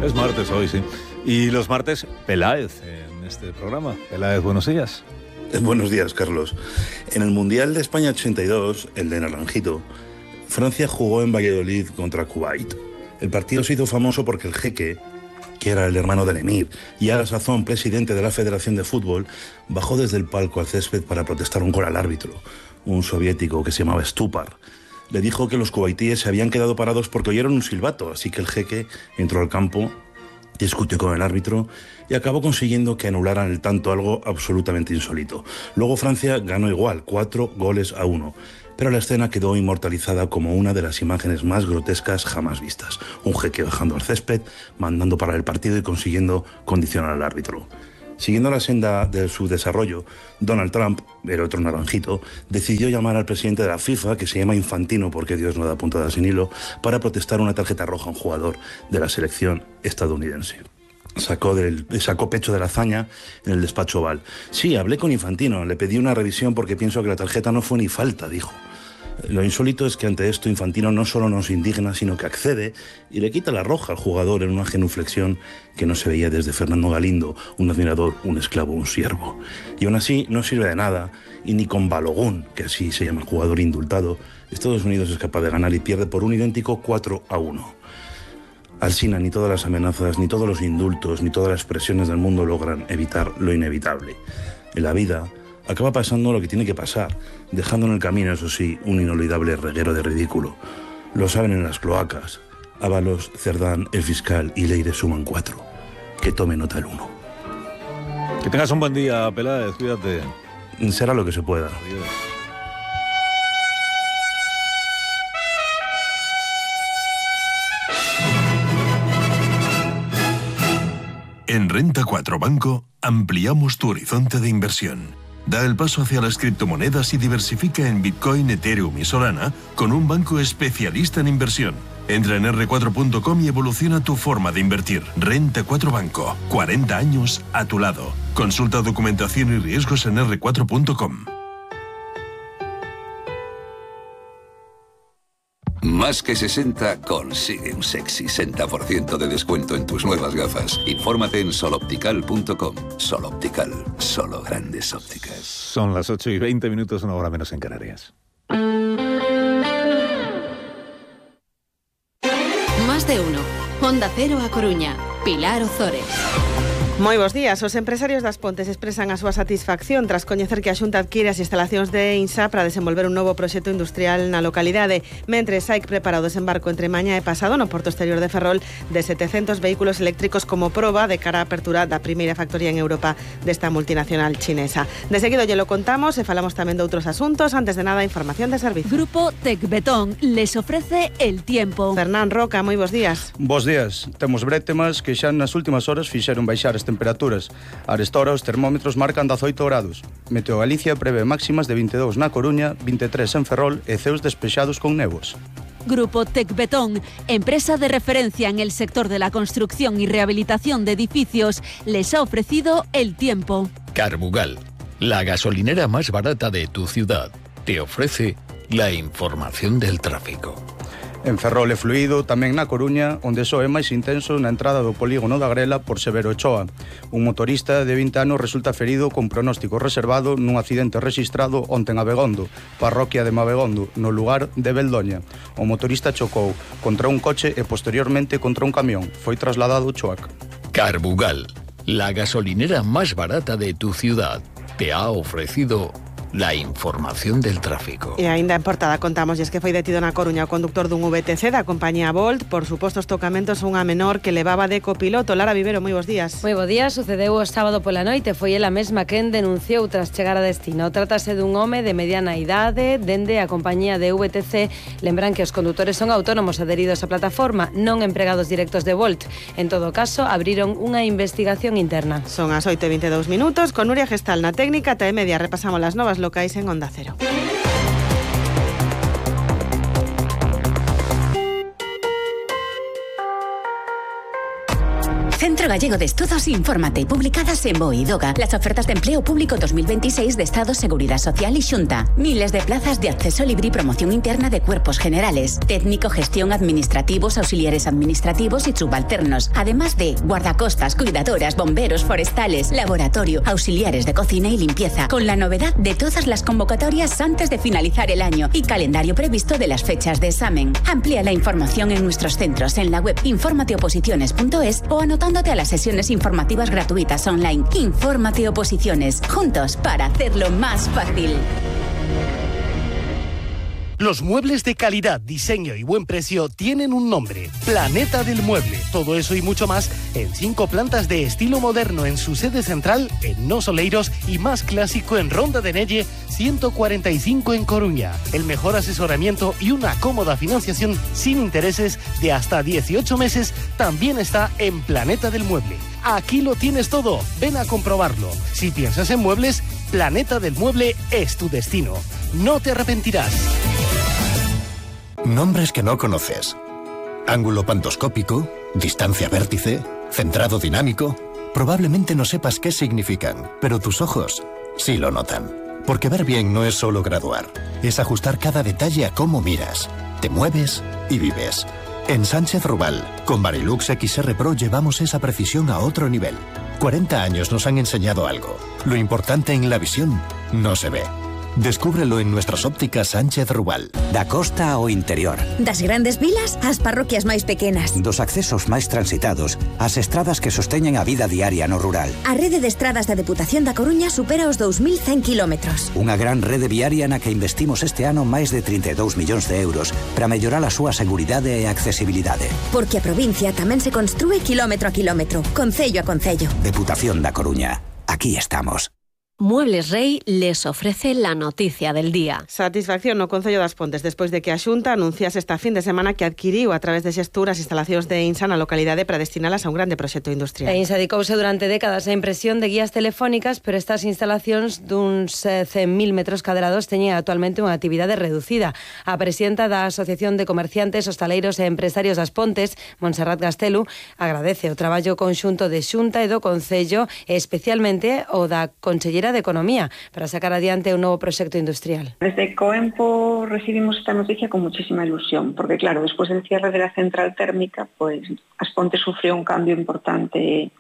Es martes hoy, sí. Y los martes, Peláez en este programa. Peláez, buenos días. Buenos días, Carlos. En el Mundial de España 82, el de Naranjito, Francia jugó en Valladolid contra Kuwait. El partido se hizo famoso porque el jeque, que era el hermano del emir y a la sazón presidente de la Federación de Fútbol, bajó desde el palco al césped para protestar un gol al árbitro, un soviético que se llamaba Stupar. Le dijo que los kuwaitíes se habían quedado parados porque oyeron un silbato, así que el jeque entró al campo, discutió con el árbitro y acabó consiguiendo que anularan el tanto, algo absolutamente insólito. Luego Francia ganó igual, 4-1, pero la escena quedó inmortalizada como una de las imágenes más grotescas jamás vistas. Un jeque bajando al césped, mandando parar el partido y consiguiendo condicionar al árbitro. Siguiendo la senda de su desarrollo, Donald Trump, el otro naranjito, decidió llamar al presidente de la FIFA, que se llama Infantino porque Dios no da puntada sin hilo, para protestar una tarjeta roja a un jugador de la selección estadounidense. Sacó pecho de la hazaña en el despacho Oval. Sí, hablé con Infantino, le pedí una revisión porque pienso que la tarjeta no fue ni falta, dijo. Lo insólito es que ante esto Infantino no solo no se indigna, sino que accede y le quita la roja al jugador en una genuflexión que no se veía desde Fernando Galindo, un admirador, un esclavo, un siervo. Y aún así no sirve de nada, y ni con Balogun, que así se llama el jugador indultado, Estados Unidos es capaz de ganar y pierde por un idéntico 4-1. Alsina, ni todas las amenazas, ni todos los indultos, ni todas las presiones del mundo logran evitar lo inevitable. En la vida acaba pasando lo que tiene que pasar, dejando en el camino, eso sí, un inolvidable reguero de ridículo. Lo saben en las cloacas. Ábalos, Cerdán, el fiscal y Leire suman 4. Que tome nota el 1. Que tengas un buen día, Peláez, cuídate. Será lo que se pueda. Adiós. En Renta 4 Banco ampliamos tu horizonte de inversión. Da el paso hacia las criptomonedas y diversifica en Bitcoin, Ethereum y Solana con un banco especialista en inversión. Entra en r4.com y evoluciona tu forma de invertir. Renta 4 Banco, 40 años a tu lado. Consulta documentación y riesgos en r4.com. Más que 60 consigue un sexy 60% de descuento en tus nuevas gafas. Infórmate en soloptical.com. Soloptical, solo grandes ópticas. Son las 8:20, una hora menos en Canarias. Más de uno. Onda Cero a Coruña. Pilar Ozores. Moi bons días. Os empresarios das Pontes expresan a súa satisfacción tras coñecer que a Xunta adquire as instalacións de INSA para desenvolver un novo proxecto industrial na localidade. Mentres, SAIC prepara o desembarco entre mañá e pasado no porto exterior de Ferrol de 700 vehículos eléctricos como proba de cara á apertura da primeira factoría en Europa desta multinacional chinesa. De seguido lle lo contamos e falamos tamén de outros asuntos. Antes de nada, información de servicio. Grupo Tecbetón les ofrece el tiempo. Fernán Roca, moi bons días. Bos días. Temos brétemas que xa nas últimas horas fixeron baixar as temperaturas. A esta hora os termómetros marcan 18 grados. Meteo Galicia prevé máximas de 22 na Coruña, 23 en Ferrol e ceos despexados con néboas. Grupo Tecbetón, empresa de referencia en el sector de la construcción y rehabilitación de edificios, les ha ofrecido el tiempo. Carbugal, la gasolinera más barata de tu ciudad, te ofrece la información del tráfico. En Ferrol é fluido, tamén na Coruña, onde só é máis intenso na entrada do polígono da Grela por Severo Ochoa. Un motorista de 20 anos resulta ferido con pronóstico reservado nun accidente rexistrado onte en Abegondo, parroquia de Mabegondo, no lugar de Beldoña. O motorista chocou contra un coche e posteriormente contra un camión. Foi trasladado ao Choac. Carbugal, la gasolinera más barata de tu ciudad, te ha ofrecido la información del tráfico. E aínda en portada contamos que foi detido na Coruña o conductor dun VTC da compañía Bolt por supostos tocamentos a unha menor que levaba de copiloto. Lara Vivero, moi bons días. Moi bo día, sucedeu o sábado pola noite. Foi ela mesma quen denunciou tras chegar a destino. Trátase dun home de mediana idade dende a compañía de VTC. Lembran que os condutores son autónomos adheridos á plataforma, non empregados directos de Bolt. En todo caso, abriron unha investigación interna. Son as 8:22, con Nuria Gestal na técnica. Ata e media repasamos as novas locais en Onda Cero. Centro Gallego de Estudos Infórmate, publicadas en BOE y DOGA. Las ofertas de empleo público 2026 de Estado, Seguridad Social y Xunta. Miles de plazas de acceso libre y promoción interna de cuerpos generales, técnico, gestión, administrativos, auxiliares administrativos y subalternos. Además de guardacostas, cuidadoras, bomberos, forestales, laboratorio, auxiliares de cocina y limpieza. Con la novedad de todas las convocatorias antes de finalizar el año y calendario previsto de las fechas de examen. Amplía la información en nuestros centros en la web informateoposiciones.es o anotándote a las sesiones informativas gratuitas online. Infórmate Oposiciones, juntos para hacerlo más fácil. Los muebles de calidad, diseño y buen precio tienen un nombre: Planeta del Mueble. Todo eso y mucho más en 5 plantas de estilo moderno en su sede central en Nos Oleiros y más clásico en Ronda de Nelle 145 en Coruña. El mejor asesoramiento y una cómoda financiación sin intereses de hasta 18 meses también está en Planeta del Mueble. Aquí lo tienes todo, ven a comprobarlo. Si piensas en muebles, Planeta del Mueble es tu destino. No te arrepentirás. Nombres que no conoces. Ángulo pantoscópico, distancia vértice, centrado dinámico. Probablemente no sepas qué significan, pero tus ojos sí lo notan. Porque ver bien no es solo graduar, es ajustar cada detalle a cómo miras, te mueves y vives. En Sánchez Rubal, con Varilux XR Pro llevamos esa precisión a otro nivel. 40 años nos han enseñado algo. Lo importante en la visión no se ve. Descúbrelo en nuestras ópticas Sánchez Rubal. Da costa ao interior. Das grandes vilas ás parroquias máis pequenas. Dos accesos máis transitados ás estradas que sosteñen a vida diaria no rural. A rede de estradas da Deputación da Coruña supera os 2100 kilómetros. Unha gran rede viaria na que investimos este ano máis de 32 millóns de euros para mellorar a súa seguridade e accesibilidade. Porque a provincia tamén se construe kilómetro a kilómetro, concello a concello. Deputación da Coruña. Aquí estamos. Muebles Rey les ofrece la noticia del día. Satisfacción no Concello das Pontes despois de que a Xunta anunciase esta fin de semana que adquiriu a través de Xestur as instalacións de INSA na localidade para destinalas a un grande proxecto industrial. INSA dedicouse durante décadas a impresión de guías telefónicas, pero estas instalacións duns 100.000 metros cadrados teñen actualmente unha actividade reducida. A presidenta da Asociación de Comerciantes, Hostaleiros e Empresarios das Pontes, Montserrat Gastelu, agradece o traballo conxunto de Xunta e do Concello, e especialmente o da Conselleira de Economía para sacar adiante un novo proxecto industrial. Desde Coempo recibimos esta noticia con muchísima ilusión, porque claro, después del cierre de la central térmica, pues As Pontes sufrió un cambio importante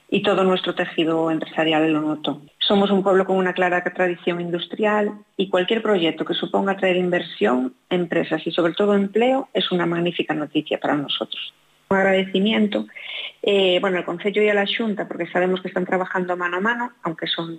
y todo nuestro tejido empresarial lo notó. Somos un pueblo con una clara tradición industrial y cualquier proyecto que suponga traer inversión, empresas y sobre todo empleo es una magnífica noticia para nosotros. Un agradecimiento al Concello y a la Xunta, porque sabemos que están trabajando mano a mano, aunque son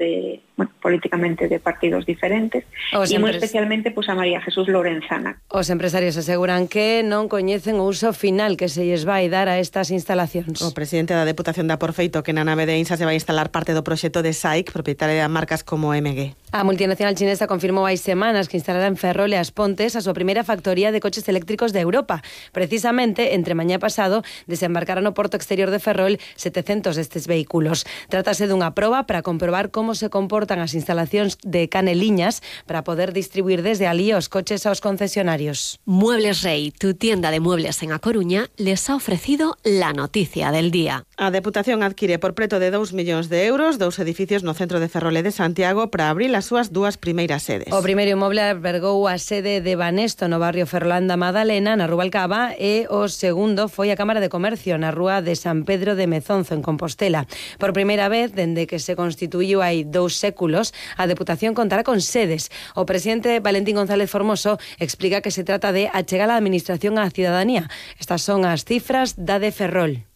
políticamente de partidos diferentes, y muy especialmente a María Jesús Lorenzana. Os empresarios aseguran que non coñecen o uso final que se lles vai dar a estas instalacións. O presidente da Deputación dá por feito que na nave de INSA se vai instalar parte do proxecto de SAIC, propietaria de marcas como MG. A multinacional chinesa confirmou hai semanas que instalará en Ferrol e As Pontes a súa primeira factoría de coches eléctricos de Europa. Precisamente, entre mañá pasado, desembarcarán no porto exterior de Ferrol 700 destes vehículos. Trátase dunha proba para comprobar como se comportan as instalacións de Caneliñas para poder distribuir desde alí os coches aos concesionarios. Muebles Rey, tu tienda de muebles en A Coruña, les ha ofrecido la noticia del día. A Deputación adquire por preto de 2 millóns de euros 2 edificios no centro de Ferrol e de Santiago para abrir as súas 2 primeiras sedes. O primeiro inmoble albergou a sede de Banesto no barrio Ferrolanda Madalena, na Rubalcaba, e o segundo foi a Cámara de Comercio na rúa de San Pedro de Mezonzo, en Compostela. Por primeira vez, dende que se constituiu hai 2 séculos, a Deputación contará con sedes. O presidente Valentín González Formoso explica que se trata de achegar a administración á cidadanía. Estas son as cifras da de Ferrol.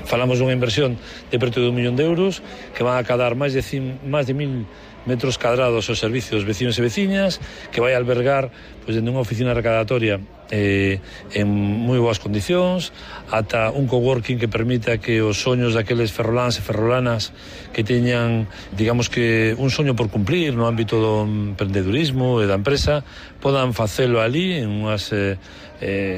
Falamos dunha inversión de preto de 1 millón de euros que van a cadar máis de 1.000 metros cadrados aos servicios vecinos e veciñas, que vai albergar dende unha oficina recadatoria en moi boas condicións, ata un coworking que permita que os soños daqueles ferroláns e ferrolanas que teñan, digamos que un soño por cumplir no ámbito do emprendedurismo e da empresa, podan facelo ali en unhas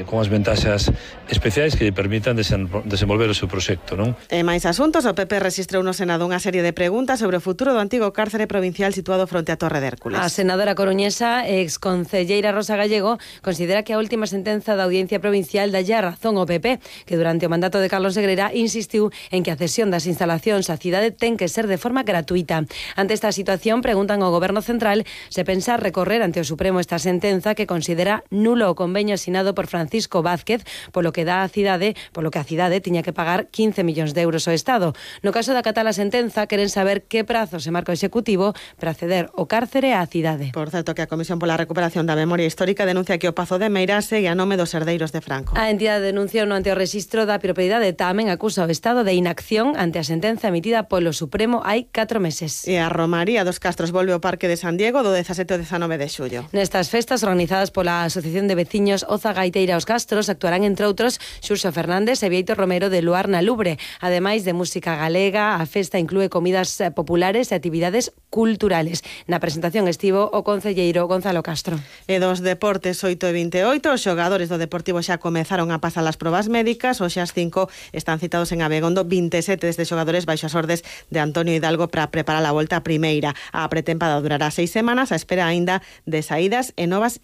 con as ventaxas especiais que lle permitan desenvolver o seu proxecto, non? E máis asuntos, o PP rexistrou no Senado unha serie de preguntas sobre o futuro do antigo cárcere provincial situado fronte a Torre de Hércules. A senadora coruñesa, exconcelleira Rosa Gallego, considera que a última sentenza da Audiencia Provincial dalle a razón ao PP, que durante o mandato de Carlos Negreira insistiu en que a cesión das instalacións á cidade ten que ser de forma gratuita. Ante esta situación, preguntan ao Goberno Central se pensa recorrer ante o Supremo esta sentenza que considera nulo o convenio asinado por Francisco Vázquez, polo que a cidade tiña que pagar 15 millóns de euros ao Estado. No caso de acatar a sentenza, queren saber que prazo se marca o Executivo para ceder o cárcere á cidade. Por certo, que a Comisión pola Recuperación da Memoria Histórica denuncia que o Pazo de Meira segue a nome dos herdeiros de Franco. A entidade denunciou ante o rexistro da propiedade, tamén acusa o Estado de inacción ante a sentenza emitida polo Supremo hai 4 meses. E a Romaría dos Castros volve ao Parque de San Diego do 17 ao 19 de xullo. Nestas festas organizadas pola Asociación de Veciños Oza Gaiteira aos Castros actuarán entre outros Xurxo Fernández e Vieito Romero de Luar na Lubre. Ademais de música galega, a festa inclúe comidas populares e actividades culturales. Na presentación estivo o concelleiro Gonzalo Castro. E dos deportes 8:28, os xogadores do Deportivo xa comezaron a pasar as probas médicas, hoxe as 5 están citados en Abegondo 27 desde xogadores baixo as ordes de Antonio Hidalgo para preparar a volta primeira. A pretempada durará 6 semanas, a espera aínda de saídas e novas